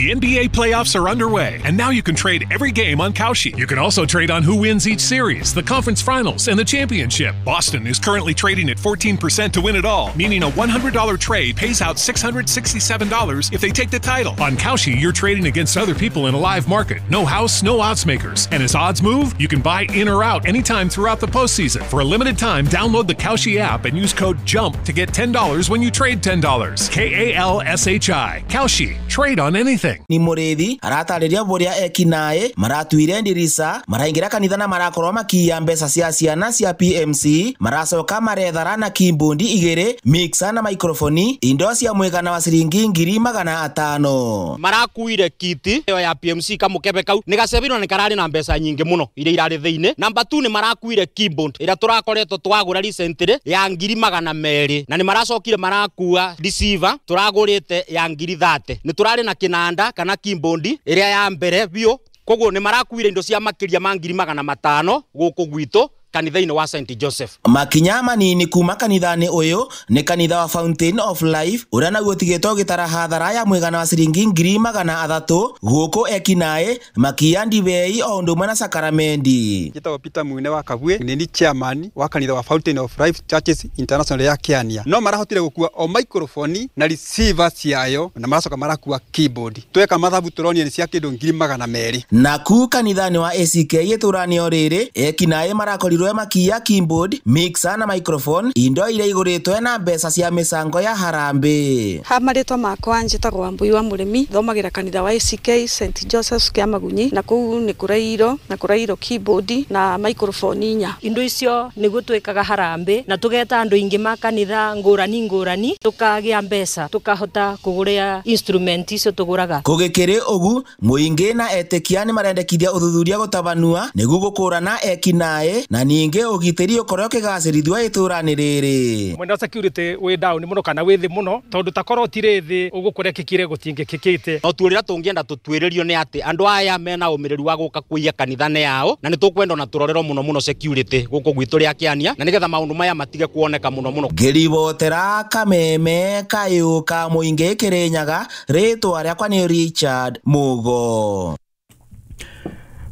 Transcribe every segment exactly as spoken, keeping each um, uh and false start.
The N B A playoffs are underway, and now you can trade every game on Kalshi. You can also trade on who wins each series, the conference finals, and the championship. Boston is currently trading at fourteen percent to win it all, meaning a one hundred dollar trade pays out six hundred sixty-seven dollars if they take the title. On Kalshi, you're trading against other people in a live market. No house, no odds makers. And as odds move, you can buy in or out anytime throughout the postseason. For a limited time, download the Kalshi app and use code JUMP to get ten dollars when you trade ten dollars. K A L S H I. Kalshi. Trade on anything. Ni murithi aratariria buria ekinae maratuire ndirisa maraingira kanitha na marakorwo makiya mbeca cia ciana cia P M C maracoka marethara na kimbundi igiri mixer na microphone indo cia mwigana wa ciringi ngiri magana atano. Marakuire kiti iyo ya P M C kamukebe kau ni gacebirwo ni karari na mbeca nyingi muno iria irari thiini. Number two ni marakuire keyboard ira turakoretwo twagura recently ya ngiri magana meri na ni maracokire marakua receiver turagurite ya ngiri thate ni turari na kinanda kana keyboard iria ya mbere biũ koguo ni marakuire indo cia makiria ma ngiri magana matano guku gwitu kanitha-inĩ wa Saint Joseph. Makinya manini kuma kanitha-inĩ ũyũ nĩ kanitha wa Fountain of Life ũrĩa naguo ũtigĩtwo ũgĩtara hathara ya mwĩgana wa ciringi ngiri magana athatũ gũkũ ekinaĩ makiya ndibei o ũndũ ũmwe na sakaramendi. Njĩtagwo Peter Mwine wa Kabwe, nĩ ni chairman wa kanitha wa Fountain of Life Churches International ya Kiania. No marahotire gũkua o microphone na receiver ciayo na maracoka marakua keyboard. Tweka mathabu tũronire nĩ cia kĩndũ ngiri magana merĩ. Naku kanitha-inĩ wa A C K itũra-inĩ o rĩrĩ ekinaĩ marakorirwo makiya keyboard mixer na microphone indo iria igũrĩtwo na mbeca cia mĩcango ya harambĩ. Ha marĩtwa makwa njĩtagwo Wambui wa Mũrĩmi, thomagĩra kanitha wa A C K Saint Joseph's kĩa Magunyi na kũu nĩ kũrairwo na kũrairwo keyboard na microphone inya. Indo icio nĩguo twĩkaga harambĩ na tũgeta andũ aingĩ ma kanitha ngũrani ngũrani tũkagĩa mbeca tũkahota kũgũra instrument icio tũgũraga. Kũgĩkĩrĩ ũgu mũingĩ na etĩkia nĩ marendekithia ũthuthuria gũtabanua nĩguo gũkũrana ekinaĩ na ningĩ ũgitĩri ũkorwo ũkĩgacĩrithio itũra-inĩ rĩrĩ. Mwena wa security wĩ down mũno kana wĩ thĩ mũno tondũ takorwo tirĩ thĩ ũguo kũrekĩkire gũtingĩkĩkĩte. No tuũrĩra tũngĩenda tũtuĩrĩrio nĩ atĩ andũ aya mena ũmĩrĩru wa gũka kũiya kanitha-inĩ yao na nĩ tũkwenda ona tũrorerwo mũno mũno security gũkũ gwitũ rĩa Kĩania na nĩgetha maũndũ maya matige kuoneka mũno mũno. Ngĩribotera Kameme kayũ ka mũingĩ Kĩrĩnyaga, rĩtwa rĩakwa nĩ Richard Mugo.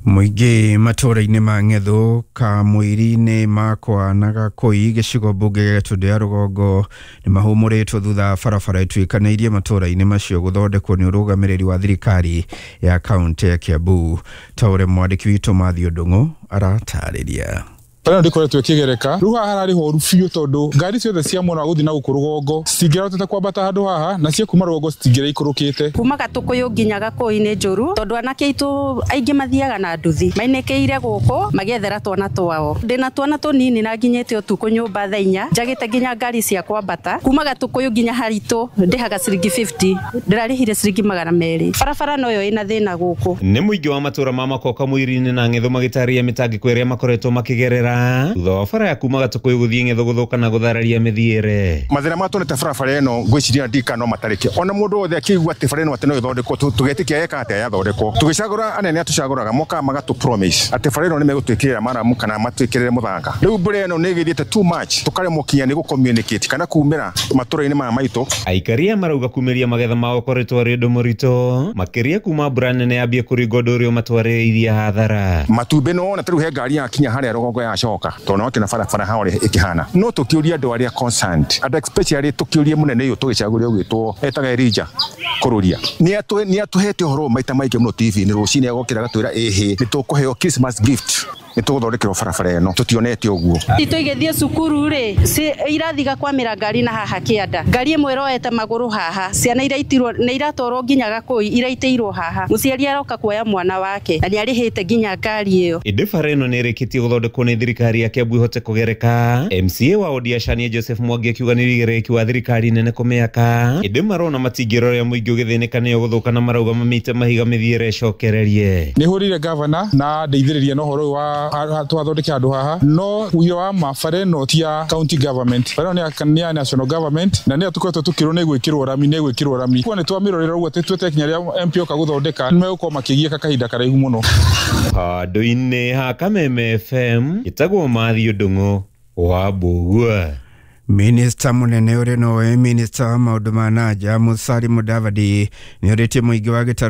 Mũingĩ matũra-inĩ ma Ng'ethũ Kamũiri-inĩ makwa na Gakũi gĩcigo mbunge gĩa Gĩtũndũ ya rũgongo nĩ mahũmũrĩtwo thutha barabara ĩtuĩkanĩirie matũra-inĩ macio gũthondekwo nĩ ũrũgamĩrĩri wa thirikari ya kaũntĩ ya Kiambu. Ta ũrĩa mwandĩki witũ Mathiũ Ndung'u aratarĩria. Bara ĩno ndĩkoretwo ĩkĩgereka rĩu haha hararĩ horu biũ tondũ ngari ciothe cia mwena wa gũthiĩ na gũkũ rũgongo citingĩrahotete kwambata handũ haha na cia kuma rũgongo citingĩraikũrũkĩte. Kuma Gatũkũyũ nginya Gakũi nĩ njũru tondũ anake aitũ aingĩ mathiaga na nduthi mainĩkĩire gũkũ magĩethera twana twao. Ndĩna twana tũnini na nginyĩte ũtukũ nyũmba thaa inya njagĩte nginya ngari cia kwambata kuma Gatũkũyũ nginya haritũ ndĩhaga ciringi fifty ndĩrarĩhire ciringi magana merĩ. Barabara noyo ĩna thĩna gũkũ. Nĩ mũingĩ wa matũra ma Makoka Mwiri-inĩ na Ng'ethũ magĩtarĩria mĩtangĩko ĩrĩa makoretwo makĩgerera thutha wa bara ya kuma Gatũkũyũ gũthiĩ Ng'ethũ gũthũka na gũthararia mĩthiĩre. Mathĩna marĩa tuonete barabara ĩno ngwĩciria ndika no matarĩke ona mũndũ wothe akĩigua atĩ bara ĩno atĩ no ĩthondekwo tũgetĩkia eka atĩa yathondekwo. Tũgĩcagũra anene a tũcagũraga mokaga magatũ promise atĩ bara ĩno nĩ megũtwĩkĩrĩra maramu kana matwĩkĩrĩre mũthanga. Rĩu mbura ĩno nĩ ĩgĩthiĩte too much tũkaremwo kinya nĩ gũ-communicate kana kumĩra matũra-inĩ maya maitũ. Aikaria marauga kumĩria magetha mao ũkoretwo arĩ ũndũ mũritũ makĩria kuma mbura nene yambie kũringa ũndũ ũrĩa ũmatwarĩrĩirie hathara. Matumbĩ no wona ta rĩu he ngari yakinya harĩa rũgongo yacoka tondũ no kĩna barabara ha ũrĩa ĩkĩhana. No tũkĩũria andũ arĩa concerned andũ especially tũkĩũrie mũnene ũyũ tũgĩcagũria ũgwĩtwo etaga Elijah Kũrũria nĩ atũhete ũhoro maita maingĩ mũno T V-inĩ rũcinĩ agokĩra agatwĩra ĩhĩ nĩ tũkũheo Christmas gift nĩ tũgũthondekerwo barabara ĩno tũtionete ũguo. Itũ igĩthiĩ cukuru rĩ irathiga kwamĩra ngari na haha kĩanda ngari ĩmwe ĩroete magũrũ haha ciana iraitirwo nĩ iratwarwo nginya Gakũi iraitĩirwo haha mũciari aroka kuoya mwana wake na nĩ arĩhĩte nginya ngari ĩyo. Ĩndĩ bara ĩno nĩ ĩrĩkĩtie gũthondekwo nĩ thirikari ya Kiambu ĩhote kũgereka. M C A wa Odia Shania Joseph Mwangi akiuga nĩ wĩigĩrĩrĩki wa thirikari nene kũmĩaka ĩndĩ marona matingĩrora mũingĩ ũgĩthĩnĩka nĩyo gũthũka na marauga mamĩte mahiga mĩthiĩre ĩcokererie. Nĩ hũrire gavana na ndeithĩrĩria na ũhoro ũyũ wa twathondeke handũ haha no ũira wa ma bara ĩno ti ya county government, bara ĩno nĩ ya national government na nĩyo tũkoretwo tũkĩrwo nĩ gwĩkĩrwo rami nĩ gwĩkĩrwo rami kwa nĩ twamĩrorera ũguo atĩ twete kinya rĩa M P oka gũthondeka nĩ megũkorwo makĩgiĩka kahinda karaihu mũno. Handũ-inĩ ha Kameme F M ĩtagwo Mathiũ Ndung'u wa Mbũgua. Minista munene ũrĩa nowe minista wa maũndũ ma nanja Musalia Mudavadi nĩ orĩtie mũingĩ wa gĩtarũ